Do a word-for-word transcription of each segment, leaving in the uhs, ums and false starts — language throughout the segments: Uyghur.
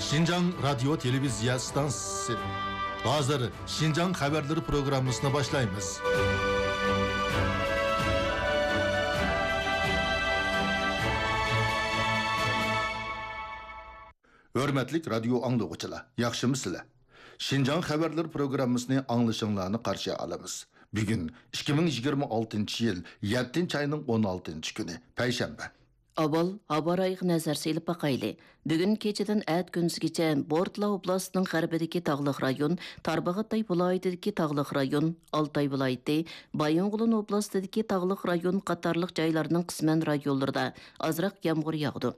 شىنجاڭ رادىيو تېلېۋىزىيە ئىستانسىسى. ھازىر شىنجاڭ خەۋەرلىرى پروگراممىسىنى باشلايمىز. ھۆرمەتلىك رادىيو ئاڭلىغۇچىلار، ياخشىمۇسىلەر؟ شىنجاڭ خەۋەرلىرى پروگراممىسىنى ئاڭلىشىڭلارنى قارشى ئالىمىز. بۈگۈن ئىككى مىڭ يىگىرمە ئالتىنچى يىل يەتتىنچى ئاينىڭ ئون ئالتىنچى كۈنى، پەيشەنبە. ئاۋۋال ھاۋا رايىغا نەزەر سېلىپ باقايلى. بۈگۈن كېچىدىن ئەتە كۈندۈزگىچە بورتلا ئوبلاستىنىڭ غەربىدىكى تاغلىق رايون، تارباغاتاي ۋىلايىتىدىكى تاغلىق رايون، ئالتاي ۋىلايىتى، بايىنغولىن ئوبلاستىدىكى تاغلىق رايون قاتارلىق جايلارنىڭ قىسمەن رايونلىرىدا ئازراق يامغۇر ياغىدۇ.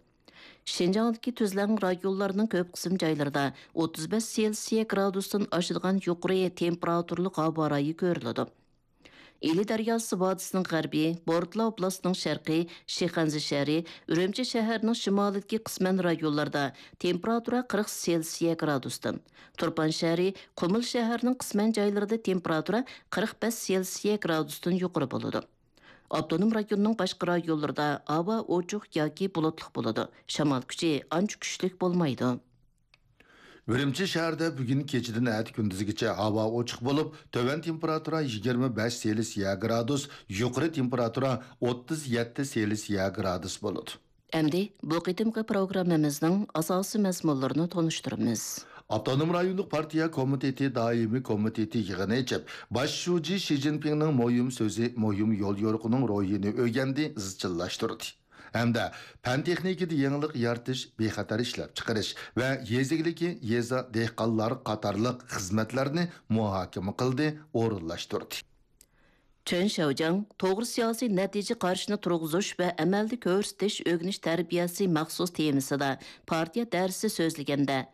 شىنجاڭدىكى تۈزلەڭ رايونلارنىڭ كۆپ قىسىم جايلىرىدا ئوتتۇز بەش سېلسىيە گرادۇستىن ئاشىدىغان يۇقىرى تېمپېراتۇرىلىق ھاۋا رايى كۆرۈلىدۇ. ئىلى دەرياسى ۋادىسىنىڭ غەربى، بورتلا ئوبلاستىنىڭ شەرقى، شىخەنزە شەھىرى، ئۈرۈمچى شەھەرنىڭ شىمالىدىكى قىسمەن رايونلاردا تېمپېراتۇرا قىرىق سېلسىيە گرادۇستىن، تۇرپان شەھىرى، قۇمۇل شەھىرىنىڭ قىسمەن جايلىرىدا تېمپېراتۇرا قىرىق بەش سېلسىيە گرادۇستىن يۇقىرى بولىدۇ. ئاپتونوم رايوننىڭ باشقا رايونلىرىدا ھاۋا ئوچۇق ياكى بۇلۇتلۇق بولىدۇ. شامال كۈچى ئانچە كۈچلۈك بولمايدۇ. ئۈرۈمچى شەھىرىدە بۈگۈن كېچىدىن ئەتە كۈندۈزگىچە ھاۋا ئوچۇق بولۇپ، تۆۋەن تېمپېراتۇرا يىگىرمە بەش سېلسىيە گرادۇس، يۇقىرى تېمپېراتۇرا ئوتتۇز يەتتە سېلسىيە گرادۇس بولىدۇ. ئەمدى بۇ قېتىمقى پروگراممىمىزنىڭ ئاساسىي مەزمۇنلىرىنى تونۇشتۇرىمىز. ئاپتونوم رايونلۇق پارتىيە كومىتېتى دائىمىي كومىتېتى يىغىنى ئېچىپ، باش شۇجى شى جىنپىڭنىڭ مۇھىم سۆزى، مۇھىم يوليورۇقىنىڭ روھىنى ئۆگەندى، ئىزچىللاشتۇردى. ھەمدە پەن-تېخنىكىدا يېڭىلىق يارىتىش، بىخەتەر ئىشلەپچىقىرىش ۋە يېزا ئىگىلىكى، يېزا دېھقانلار قاتارلىق خىزمەتلەرنى مۇھاكىمە قىلدى، ئورۇنلاشتۇردى. چېن شياۋجياڭ توغرا سىياسىي نەتىجە قارىشىنى تۇرغۇزۇش ۋە ئەمەلدە كۆرسىتىش ئۆگىنىش تەربىيەسى مەخسۇس تېمىسىدا پارتىيە دەرسى سۆزلىگەندە،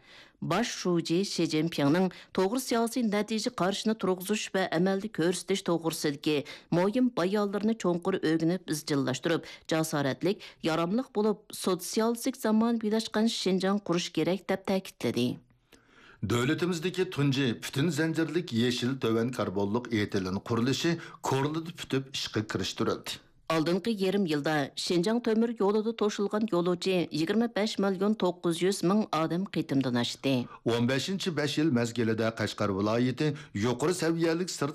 باش شۇجى شى جىنپىڭنىڭ توغرا سىياسىي نەتىجە قارىشىنى تۇرغۇزۇش ۋە ئەمەلدە كۆرسىتىش توغرىسىدىكى مۇھىم بايانلىرىنى چوڭقۇر ئۆگىنىپ، ئىزچىللاشتۇرۇپ، جاسارەتلىك، ياراملىق بولۇپ، سوتسىيالىستىك زامانىۋىلاشقان شىنجاڭ قۇرۇش كېرەك، دەپ تەكىتلىدى. دۆلىتىمىزدىكى تۇنجى پۈتۈن زەنجىرلىك يېشىل تۆۋەن كاربونلۇق ئېتىلېن قۇرۇلۇشى كورلىدا پۈتۈپ ئىشقا كىرىشتۈرۈلدى. ئالدىنقى يېرىم يىلدا شىنجاڭ تۆمۈر يولىدا توشۇلغان يولۇچى يىگىرمە بەش مىليون توققۇز يۈز مىڭ ئادەم قېتىمدىن ئاشتى. ئون بەشىنچى بەش يىل مەزگىلىدە قەشقەر ۋىلايىتى يۇقىرى سەۋىيەلىك سىرت